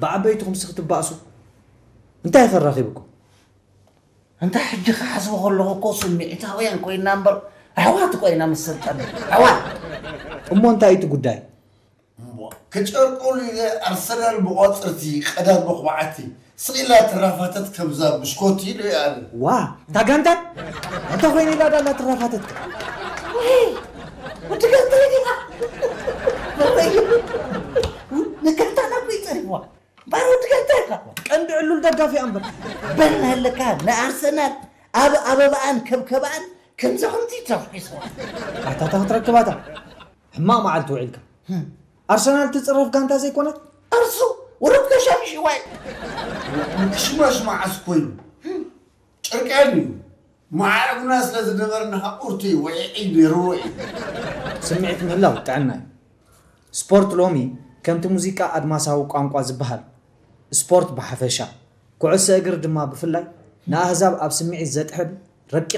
ብዓበይትኹም ስኽ ትባእሱ እንታይ ከራኺብኩም? እንታይ ሕጂ ክሓስቦ ከለኹ እኮ ስምዒታውያን ኮይና እምበር ኣሕዋት እኮ ኢና መሰልጠኒ። ኣሕዋት። እሞ እንታይ እቲ ጉዳይ? እሞ ክጨርቀሉ ኢለ ኣርሰናል ብቆፅርቲ ቀዳም መኹባዕቲ ስቕ ኢላ ትራፋተት ከምዛ ብሽኮቲ ኢሉ ይኣለ። ዋ፣ እታ ጋንታ እንታይ ኮይነ ኢላ ዳላ ትራፋተት? ወይ፣ ወዲ ጋንታ ዲኻ? ንጋንታና እኮ ይፀሪፍዋ። ባሮ ትገልጠካ። ቀንዲ ዕሉል ደጋፊ እምበር። በል ኣለካ ንኣርሰናል ኣብ ኣበባኣን ከብከባኣን ከምዚ ከምዚ ተፍሒስዋ። ኣታታ ክትረክባታ። ሕማቕ መዓልቲ ውዒልካ። ኣርሰናል ትጽረፍ ጋንታ ዘይኮነት? ኣርሱ፣ ወረብ ተሻምሽዋይ። ሽማሽ መዓስ ኮይኑ? ጨርቅያን እዩ። መዓረጉና ስለ ዝነበርና ቁርቲ ውዒዒ ነይርዎ እዩ። ስምዒት ምህላው ጥዕና እዩ። ስፖርት ሎሚ ከምቲ ሙዚቃ ኣድማሳዊ ቋንቋ ዝበሃል፣ ስፖርት ብሓፈሻ፣ ኩዕሶ እግሪ ድማ ብፍላይ ንኣህዛብ ኣብ ስምዒት ዘጥሕል ረቂቕ